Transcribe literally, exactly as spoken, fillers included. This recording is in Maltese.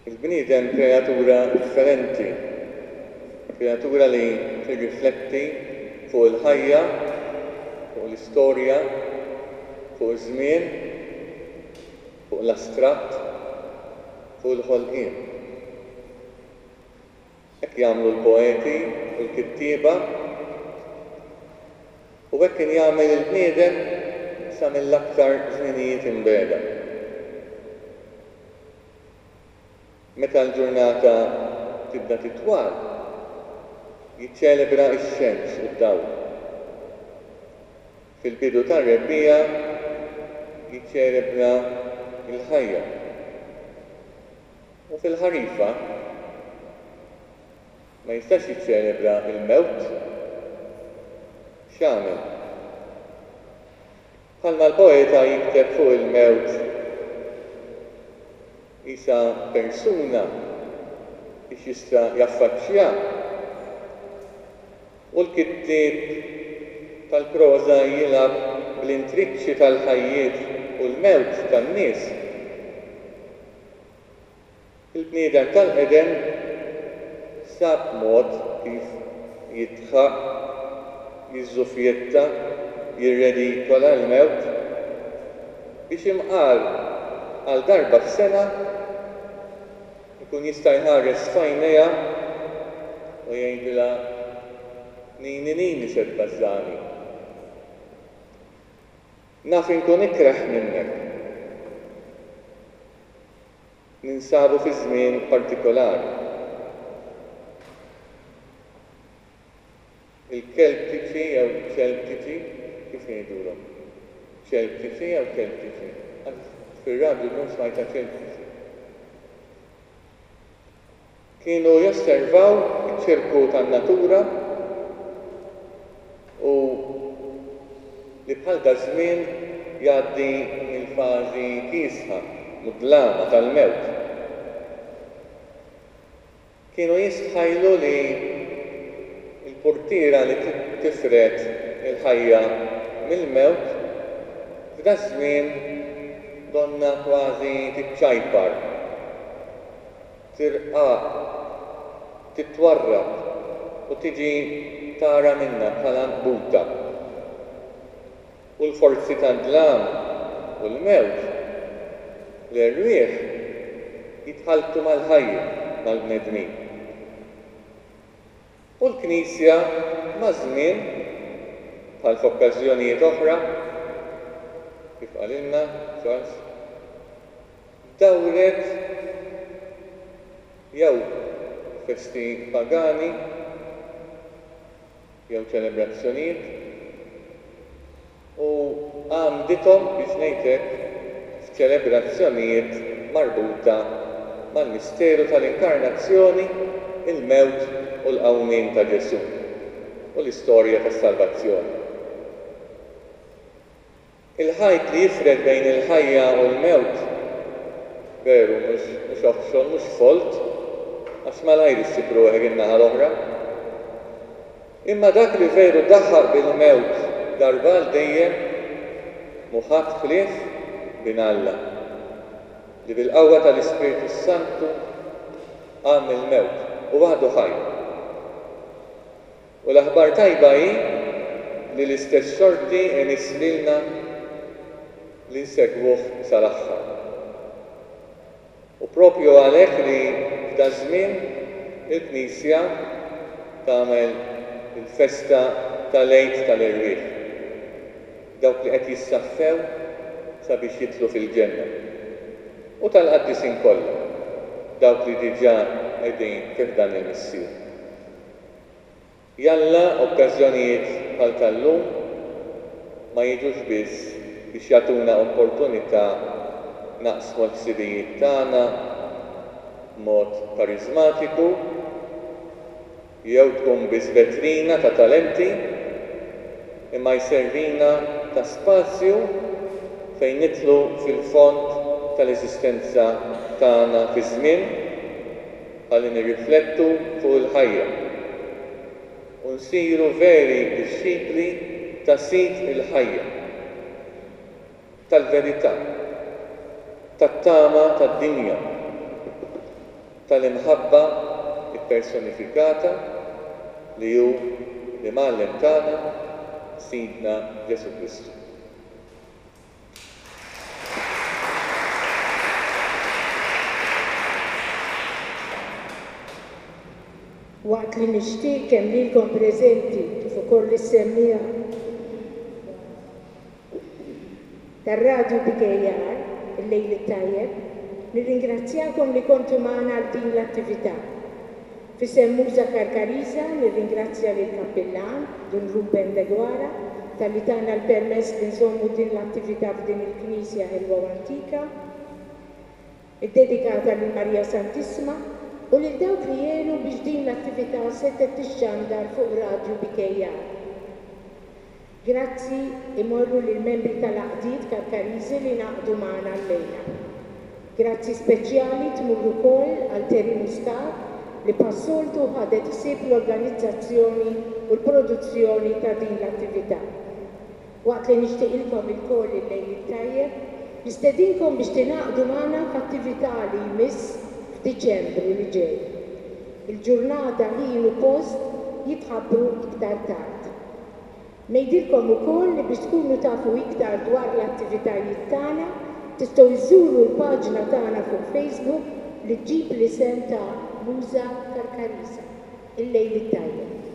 Il-bniedem kreatura differenti, kreatura li tirrifletti fuq il-ħajja, fuq l-istorja, fuq iż-żmien, fuq l-astratt, fuq il-ħolqien. Hekk jagħmlu l-poeti u l-kittieba u hekk kien jagħmel il-bniedem sa mill-aktar żminijiet imbiegħda. Meta l-ġurnata tibda titwal, jiċċelebra x-xemx u d-dawl. Fil-bidu tar-rebbiegħa jiċċelebra l-ħajja. U fil-ħarifa ma jistax jiċċelebra l-mewt. X'għamel? Bħalma l-poeta jikteb fuq il-mewt qisha persuna biex jista' jaffaċċjaha, u l-kittieb tal-proża jilgħab bl-intriċċi tal-ħajjiet u l-mewt tan-nies, il-bniedem tal-qedem sab mod kif jidħaq, jiżżufjetta, jirredikola l-mewt biex imqar għal darba f'sena ikun jista' jħares f'għajnejha u jgħidilha nini nini se tbażżani. Naf inkun ikreh minnek. Ninsabu fi żmien partikolari. Il-Keltiċi jew Ċeltiċi, kif ngħidulhom? Ċeltiċi jew Keltiċi? Fir-radju llum smajtha Ċeltiċi. Kienu josservaw iċ-ċirku tan-natura u li bħal daż-żmien jgħaddi mill-fażi kiesħa, mudlama tal-mewt. Kienu jistħajlu li l-purtiera li tifred il-ħajja mill-mewt f'daż-żmien donna kważi tiċċajpar, tirqaq, titwarrab u tiġi tara minnha bħala nqbuta. U l-forzi tad-dlam u l-mewt, l-erwieħ, jitħalltu mal-ħajja, mal-bnedmin. U l-Knisja maż-żmien, bħal f'okkażjonijiet oħra, kif qalilna Charles, dawret jew festi pagani jew ċelebrazzjonijiet u għamdithom biex ngħid hekk f'ċelebrazzjonijiet marbuta mal-misteru tal-inkarnazzjoni, il-mewt u l-qawmien ta' Ġesù u l-istorja tas-salvazzjoni. Il-ħajt li jifred bejn il-ħajja u l-mewt, veru, mhux oħxon, mhux folt, għax malajr issib ruħek in-naħa l-oħra. Imma dak li veru daħaq bil-mewt darba għal dejjem mhu ħadd ħlief bin Alla, li bil-qawwa tal-Ispirtu Santu qam mill-mewt u għadu ħaj. U l-aħbar tajba hi li l-istess xorti imiss lilna li nsegwuh sal-aħħar. U propju għalhekk li f'daż-żmien il-Knisja tagħmel il-festa tal-Għid tal-Erwieħ, dawk li qed jissaffew sabiex jidħlu fil-ġenna, u tal-qaddisin kollha, dawk li diġà qegħdin fi ħdan il-Missier. Jalla okkażjonijiet bħal tal-lum ma jiġux biss biex jagħtuna opportunità naqsmu l-ħsibijiet tagħna b'mod karizmatiku jew tkun biss vetrina ta' talenti, imma jservina ta' spazju fejn nidħlu fil-fond tal-eżistenza tagħna fi żmien ħalli nirriflettu fuq il-ħajja u nsiru veri dixxipli ta' Sid il-ħajja, tal-verità, tat-tama tad-dinja. tal-imħabba ppersonifikata li hu l-Imgħallem tagħna, Sidna Ġesù Kristu. Waqt li nixtieq kemm lilkom preżenti kif ukoll lis-semmiegħa tar-Radju B K R il-lejl it-tajjeb, nirringrazzjakom li kontu magħna għal din l-attività. F'isem Muża Karkariża nirringrazzja lil kappillan Dun Ruben Deguara talli tana l-permess li nżommu din l-attività f'din il-knisja ħelwa u antika, iddedikata lil Marija Santissima, u lil dawk li għenu biex din l-attività setgħet tixxandar fuq Radju B K R. Grazzi imorru lil membri tal-għaqdiet Karkariżi li ngħaqdu magħna llejla. Grazzi speċjali tmur ukoll għal Terry Muscat li bħas-soltu ħadet ħsieb l-organizzazzjoni u l-produzzjoni ta' din l-attività. Waqt li nixtieqilkom ilkoll il-lejl it-tajjeb, nistedinkom biex tingħaqdu magħna f'attività li jmiss f'Diċembru li ġej. Il-ġurnata, ħin u post jitħabbru iktar tard. Ngħidilkom ukoll li biex tkunu tafu iktar dwar l-attivitajiet tagħna tistgħu iżżuru l-paġna tagħna fuq Facebook li ġġib l-isem ta' Muża Karkariża. Il-lejl it-tajjeb.